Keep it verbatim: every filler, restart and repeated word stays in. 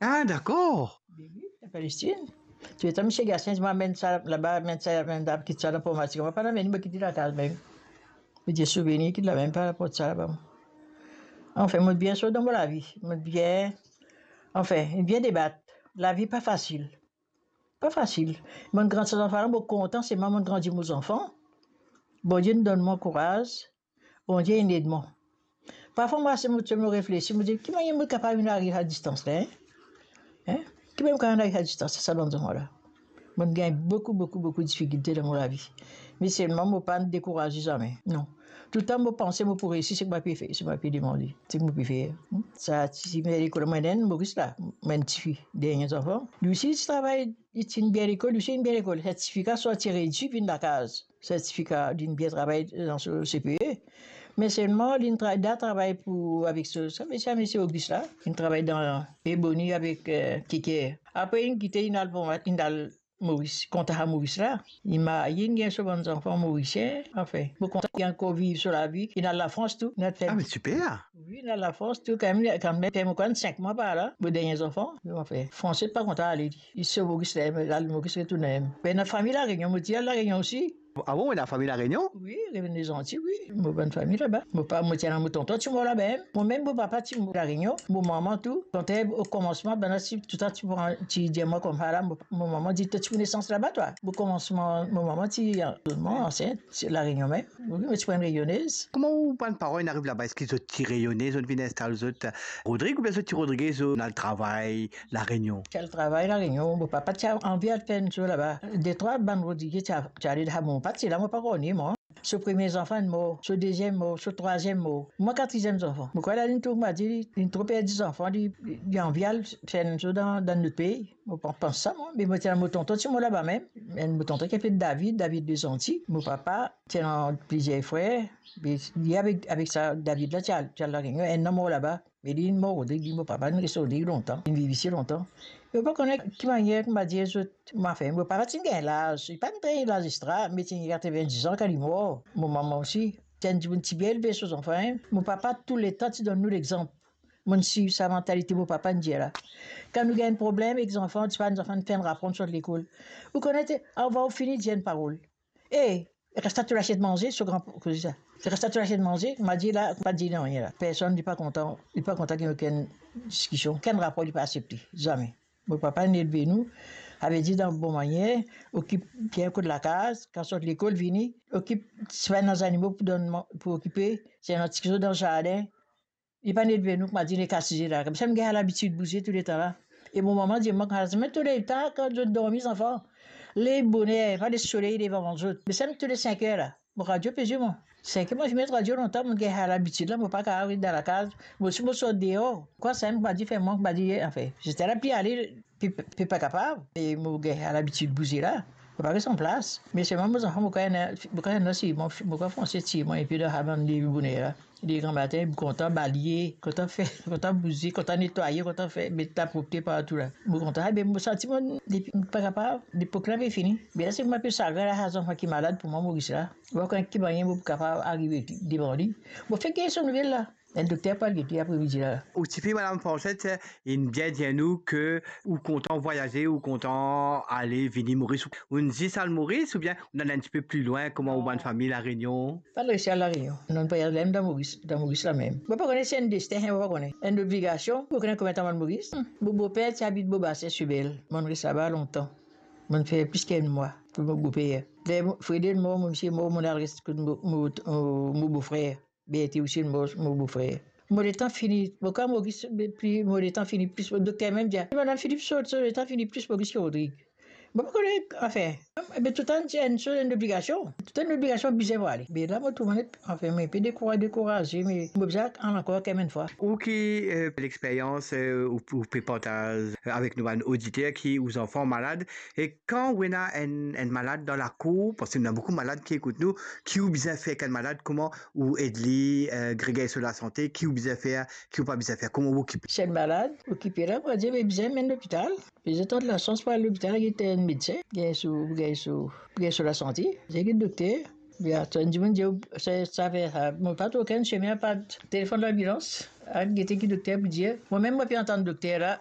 Ah, dakor. Be wi, Palestinn. Tou letan misie Gatien dir mwa, amenn sa laba, amenn sa, amenn la, kit sa dan armwar, mo pa amenn, mo kit li lakaz mem. Mo dir souvenir, kit la mem, pa aport sa laba. Anfin, mo bien sot dan mo lavi. Mo bien, anfin, bien debat. Lavi pa fasil. Pa fasil. Mo'nn grandi sa zanfan la, mo kontan, selman mo'nn grandi mo zanfan. Bondie inn donn mwa kouraz. Bondie inn ed mwa. Parfwa mo asize, mo, mo reflesi, mo dir, ki manier mo kapav vinn ariv sa distans la, en? En? Ki manier mo kapav vinn ariv sa distans la, sa bann zanfan la? Mo'nn gagn boukou, boukou, boukou difikilte dan mo lavi. Me selman mo pa'nn dekouraze zame. Non. Toultan mo panse mo pou reisi, seki mo pe fer, seki mo pe demande, seki mo pe fer. Hmm? Sa ti, me lekol, mo ena enn Moris la, mo enn tifi, dernie zanfan. Li osi ti travay, li ti bien lekol, li osi bien lekol. Sertifika so ti redwir, vinn lakaz. Sertifika, linn bien travay dan so C P E. Me selman, linn tra-, da travay pou, avek so, sa misie, misie Auguste la, linn travay dan Ebony avek, eh, Keker. Apre, linn kite, linn al pou, linn al Moris, kontan Moris la. Li marye, linn gagn so bann zanfan morisien. Anfin, mo kontan, li ankor viv so lavi. Linn al Lafrans tou, linn al fer... Ah, me siper. Wi, linn al Lafrans tou, kanmem, kanmem, fer mo konn sink mwa par la, mo dernie zanfan. Anfin, Franse pa kontan ale li. Li sot Moris la, al Moris, retourn. Be, ena fami La Rényon, mo ti al La Rényon osi. Ah bon, ena fami La Rényon? Wi, Revene Zanti, wi. Mo bann fami laba. Mo pa, mo ti ena mo tonton ti mor laba mem. Mo mem mo papa ti mor La Rényon. Mo mama tou. Kan okomansman, bann la ti, toultan ti pran, ti dir mwa koumsa la, mo, mo mama dir, to ti pou nesans laba twa? Okomansman, mo mama ti, eh, mo ansint, se La Rényon mem. Wi, mo ti pou enn Rényonez. Kouma ou bann paran inn ariv laba? Eski zot ti Rényone, zot vinn instal zot Rodrig, oubien zot ti Rodrig, zot al travay La Rényon? Ti al travay La Rényon, mo papa ti anvi al fer enn zour laba. Detrwa bann Rodrig ti a-, ti ale laba, mo pa ti la, mo pa kone mwa. So premie zanfan mor, so deziem mor, so trwaziem mor. Mwa katriem zanfan. Mo krwar li inn trouv, mo dir li, li inn tro perdi zanfan, li, li, li anvi al fer enn zour dan, dan lot pei. Mo pa panse sa, mwa. Me mo ti ena mo tonton ti mor laba mem. Enn mo tonton ki apel David, David Lezanti. Mo papa ti ena plizier frer. Me li avek, avek sa David la, ti al, ti al La Rényon. Enn la mor laba. Me li inn mor Rodrig, li, mo papa inn res Rodrig lontan. Linn viv isi lontan. Mo pa kone ki manier, kouma dir zot, mo, anfin, mo papa ti gagn laz. Li pa'nn gagn laz extra, me ti gagn katreven-diz an kan li mor. Mo mama osi. Ti enn dimoun ti bien elve so zanfan, en. Mo papa touletan ti donn nou lexanp. Mo'nn swiv sa mantalite mo papa inn dir la. Kan nou gagn problem ek zanfan, ti pa enn zanfan, fer enn rapor, sot lekol. Ou kone, te, avan ou fini, dir enn parol. "E, resta to lasiet manze," so gran koze sa. "Resta to lasiet manze," ma dir la, pa dir nanye la. Personn, li pa kontan, li pa kontan gagn okenn diskision, okenn rapor li pa aksepte, zame. Mo papa inn elve nou, savedir dan bon manier, okip bien kot lakaz, kan sot lekol vini, okip, si pa ena zanimo pou donn man-, pou okipe, si ena ti kiksoz dan zardin, li pa'nn elve nou, kouma dir, nek asize la. Koumsa, mo gagn labitid bouze touletan la. E mo mama dir mwa, "Koumsa, met to lev tar, kan zot dormi, zanfan, lev boner, pa les soley devan zot." Me sa, met to lev sink er la. Mo radio pe zwe, mwa. Sink er, mo finn met radio lontan, mo gagn labitid la, mo pa kapav res dan lakaz. Mo, si mo sort deor, kwa sa, mo pa dir, fer mwa, mo pa dir, anfin, zot la pli ale, pe, pe pa kapav. E mo gagn labitid bouze la. Mo pa res anplas. Me selman mo zanfan, mo krwar ena, mo krwar ena si, mo, mo krwar Franse ti mwa, epi dan sa bann lev boner la. Lev gramatin, kontan balye, kontan fer, kontan bouze, kontan netwaye, kontan fer, met lapropte partou la. Mo kontan, be mo santi mwa, depi, pa kapav, lepok la pe fini. Be la, se mo pe sagrin la, sa zanfan ki malad pou mwa, Moris la. Mo pa konn ki manier mo pou kapav arive devan li. Mo fer gagn so nouvel la. Enn dokter pou al gete apre midi la. Ou tifi, madam Franchette, inn bien dir nou ke ou kontan vwayaze, ou kontan ale vini Moris. Ou'nn zis al Moris oubien ou'nn al enn tipe pli lwin, kouma ou bann fami La Rényon? Pa'nn resi al La Rényon. Nou'nn vwayaz la mem dan Moris, dan Moris la mem. Mo pa kone si enn destin, mo pa kone. Enn obligasion, mo kone konbien tan mo al Moris. Hmm. Mo boper ti abit Bobasin, Sibel. Mo'nn res laba lontan. Mo'nn fer plis ki enn mwa kot mo boper. Ler mo, Fredel mor, mo misie mor, mo'nn al res kot mo, mo, mo, mo bofrer. Berthe osi, mo, mo bofrer. Mo letan fini, mo kan Moris, pli, mo letan fini plis, dokter mem dir, "Madam Philippe, so, so letan fini plis Moris ki Rodrig." Mo pa kone, anfin, me toultan ti enn soz, enn obligasion. Toultan enn obligasion, bizin pou ale. Me la, mo trouv mwa, anfin, mo pe dekoura-, dekouraze, me mo bizin al ankor kemem enn fwa. Ou ki, eh, lexperyans, eh, ou, ou pe partaz avek nou bann oditer ki ou zanfan malad, e kan ou ena enn, enn malad dan lakour, parski ena boukou malad ki ekout nou, ki ou bizin fer ek enn malad, kouma ou ed li, eh, gagn so lasante, ki ou bizin fer, ki ou pa bizin fer, kouma ou okipe? Si enn malad, okipe la, mo dir, be bizin amenn lopital. Bizin tann lasans pou al lopital, gete enn medsin, gagn so, gagn so, gagn so lasante, gete dokter. Be atann dimoun dir, sa, sa fer sa. Mo pa trouv okenn semin, apa telefonn lanbilans, al gete ki dokter pou dir. Mwa mem, mo pe antann dokter la,